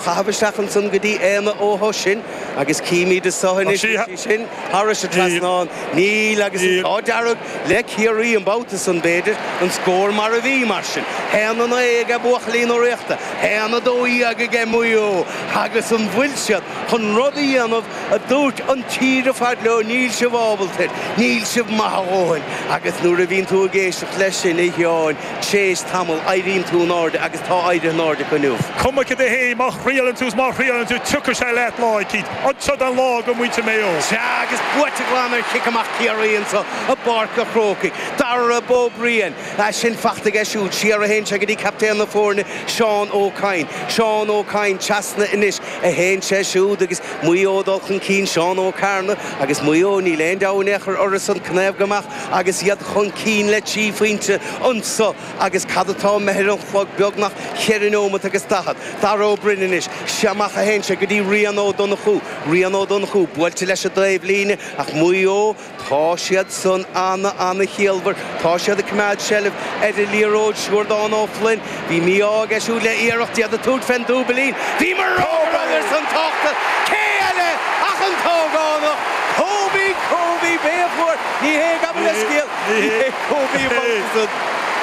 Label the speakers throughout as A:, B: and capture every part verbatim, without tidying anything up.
A: Chaitheamh isteach ansan go dtí Éanna Ó hOisín agus címid anseo anois í sin thairis an trasnán. Níl agus an t-ádh dearg le Ciarraí an babhta san b'fhéidir, an scór mar a bhí mar sin. Haon a naoi aige buachaillí na Ríochta, haon a dó dhéag aige Maigh Eo agus an bhfuil siad chun rud a dhéanamh a dúirt an tír ar fad leo, níl sibh ábalta air, níl sibh maith a dhóthain agus nuair a bhíonn tú ag éisteacht leis sin a Sheáin, tréis tamaill éiríonn tú in airde agus tá éirithe in airde acu inniu.
B: Cuma cad é féin, má thriaileann tú is má thriaileann tú, tiocfaidh sé leat lá eicínt. Anseo an lá do mhuintir Mhaigh Eo.
A: Sea, agus buaite glan ar chic amach Chiarraí anseo i bPáirc a' Chrócaigh. Darragh Ó Briain, é sin fachta aige siúd, siar a théann sé go dtí captaen na foirne, Seán Ó Cadhain. Seán Ó Cadhain trasna anois a théann sé siúd agus Maigh Eo ag dul chun cinn, Seán Ó Cearna agus Maigh Eo, níl aon deabhadh in aon chor orthusan, cnámh go mbeadh agus iad chun cinn le trí phointe anso agus cad atá imithe ar an chlog, beagnach cheithre neomat agus daichead. Darragh Ó Broin anois, sea amach a théann sé go dtí Rian Ó Donnchú. Rian Ó Donnchú buailte leis an dtaobhlíne ach Maigh Eo, tá siad san ana, ana-chiallmhar. Tá siad ag coimeád seilbh ar an liathróid. Siúrdán Ó Floinn, bhí mí-ádh aige siúd le iarracht iad ag tabhairt fén dúbailín. Bhí mar fhreagra ar son tábhachta. Cé eile ach an t-ógánach Kobe, Kobe, b'é a fuair, ní hé, gabh mo leithscéal, ní hé Kobe an babhta san.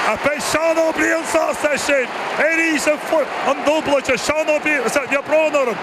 B: Ach beidh Seán Ó Briain sásta as sin. Arís an an dúbláilte Seán Ó Briain, níl brón orm.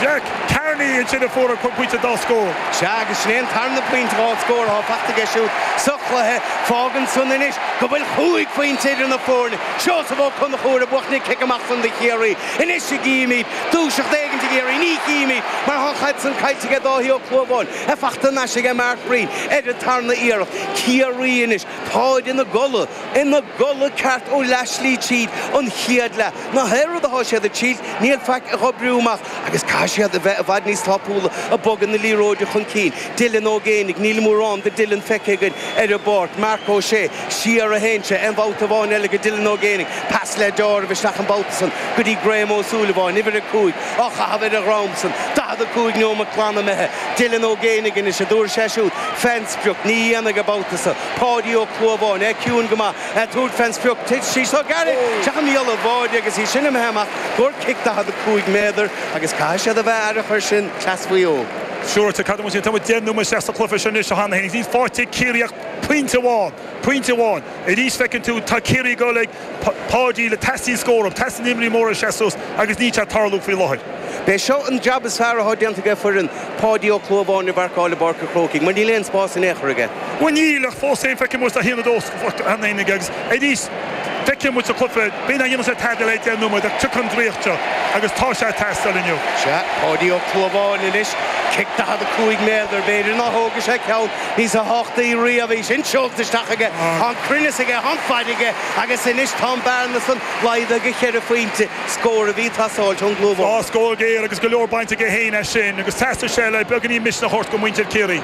B: Jack Carney ansin a fuair an pointe dá scór.
A: Sea, agus sin é an tarna pointe dhá scór atá fachta aige siúd sa chluiche. Fágann san anois go bhfuil chúig phointe idir na foirne. Seosamh Ó Conchúir ag buachan an cic amach san do Chiarraí. Anois a gcímid dúiseacht éigin i gCiarraí. Ní chímid mar tá an chaid san caillte aige Dáithí Ó Clúmháin. É fachta anois aige Mark Breen ar an tarna iarracht. Ciarraí anois, táid ina gcodladh, ina gcodladh ceart ó leathshlí tríd an chéad leath. Na haon rud atá siad ag triail, níl faic á oibriú amach agus caithfidh siad a bheith i bhfad níos tapúla ag bogadh na liathróide chun cinn. Dylan Ó Géibheannaigh, níl mórán de Dylan feicthe againn ar an bpáirc. Marc Ó Sé, siar a théann sé, aon bhabhta amháin eile go Dylan Ó Géibheannaigh. Pas le deáramh isteach an babhta san go dtí Graham Ó Súilleabháin, uimhir a cúig, á chaitheamh ar a dhrom san. daichead a cúig nóiméad glan imithe. Dylan Ó Géibheannaigh anois, a dtabharfaidh sé siúd fén sprioc, ní dhéanfaidh an babhta so. Páidí Ó Clúmháin, é ciúin go maith, ag tabhairt fén sprioc, tit sí so gairid isteach i mbéal an bháide agus í sin imithe amach gur cic daichead a cúig méadar agus caithfidh siad a bheith aireach air sin, cleas Mhaigh Eo.
B: Siúráilte, cad a bhfuil tá muid deich nóiméad isteach sa chluiche seo anois cheana féin. Níl faighte ag Ciarraí ach pointe amháin, pointe amháin. Arís feiceann tú, tá Ciarraí ag dul ag Páidí le teastaíonn scór uathu, teastaíonn imreoirí móra ag seasamh suas agus níl sé ag tarlú faoi láthair.
A: B'é seo an jab is fearr atá déanta aige foireann Páidí Ó Clúmháin a mharcáil i bPáirc an Chrócaigh mar níl aon spás in aon chor aige.
B: Bhuel níl, ach fós féin feicfidh muid a haon a dó cheana féin aige agus arís feicfidh muid sa chluiche, b'fhéidir nach ndéanfaidh sé tada le deich nóiméad ach tiocfaidh an draíocht seo agus tá sé ag teastáil inniu.
A: Sea, Páidí Ó Clúmháin anois, cic daichead a cúig méadar, b'fhéidir ná thógfaidh sé ceann níosa thábhachtaí riamh, í sin seolta isteach aige, tá an cruinneas aige, tá an fad aige agus anois tá an bearna san laghdaithe go cheithre phointe. Scór a bhí ag teastáilt ón gClúmhán.
B: Á, scór géar agus go leor bainte aige féin as sin agus theastaigh sé le beagáinín misneach a thabhairt do mhuintir Chiarraí.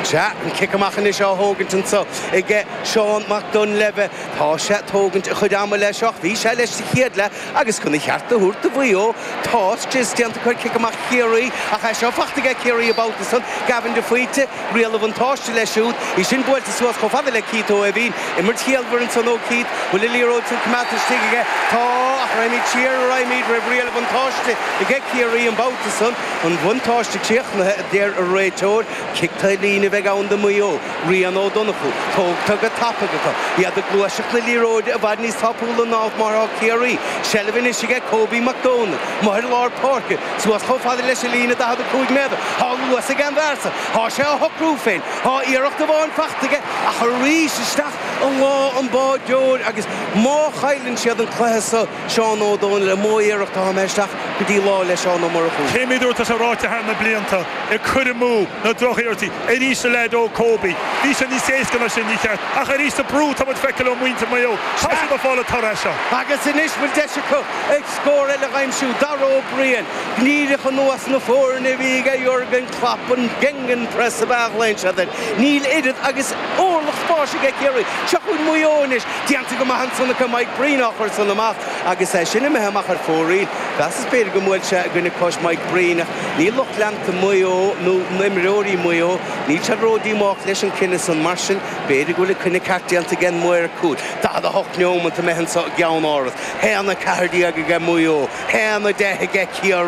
A: Sea, an cic amach anois á thógaint anso aige Seán Mac Duinnshléibhe. Tá sé ag tógaint a chuid ama leis ach bhí sé leis sa chéad leath agus chun a cheart a thabhairt do Mhaigh Eo, tá scrios déanta acu ar chic amach Chiarraí ach é seo fachta aige Ciarraí an babhta san. Gavin de Faoite, riail an bhuntáiste leis siúd. Í sin buailte suas chomh fada le Keith Ó hEimhín. Imirt chiallmhar ansan ó Keith. Bhfuil an liathróid san coimeádta istigh aige? Tá, ach raghaimid siar, raghaimid roimh riail an bhuntáiste aige Ciarraí an babhta san. An bhuntáiste críochnaithe, a deir an réiteoir. Cic taobh líne a bheidh ann do Mhaigh Eo. Rian Ó Donnchú, tógtha go tapaidh acu. Iad ag gluaiseacht na liathróide i bhfad níos tapúla ná mar atá Ciarraí. Seilbh anois aige Kobe Mac Domhnaill, amuigh ar lár páirce, suas chomh fada leis an líne daichead a cúig méadar. Tá luas ag an bhfear so. Tá sé á shocrú féin. Tá iarracht amháin fachta aige ach arís isteach i lámha an bháideoir agus má chailleann siad an cluiche so, Seán Ó Dónaill, an mó iarracht atá imithe isteach go dtí lá le Seán Ó Murchú.
B: Cé mhéad uair atá sé ráite thar na blianta, ag cur amú na drochiarrachtaí, arís a leaid óg Kobe. Bhí sé níos éasca ná sin, ní cheart. Ach arís an brú atá muid ag feiceáil ó mhuintir Mhaigh Eo, tá siad ag fáil an toradh as seo.
A: Agus anois bhfuil deis acu ag scór eile a aimsiú. Dara Ó Briain, díreach anuas na foirne a bhí aige Jurgen Klopp, an Gegenpress ab ea a ghlaonn siad air. Níl oiread agus orlach spáis aige Ciarraí. Seo chugainn Maigh Eo anois déanta go maith ansan acu Mike Breen á chur san amach agus é sin imithe amach ar fóraoil. Mheasas b'fhéidir go mbuail sé i gcoinne cois Mike Breen níl lucht leanta Mhaigh Eo nó imreoirí Mhaigh Eo, níl siad ródhíomách leis an cinneadh san mar sin b'fhéidir go bhfuil an cinneadh ceart déanta ag an maor cúil. Daichead a hocht neomat imithe anso i gceann áras. Haon a ceathair déag aige Maigh Eo, haon a deich aige Ciarraí.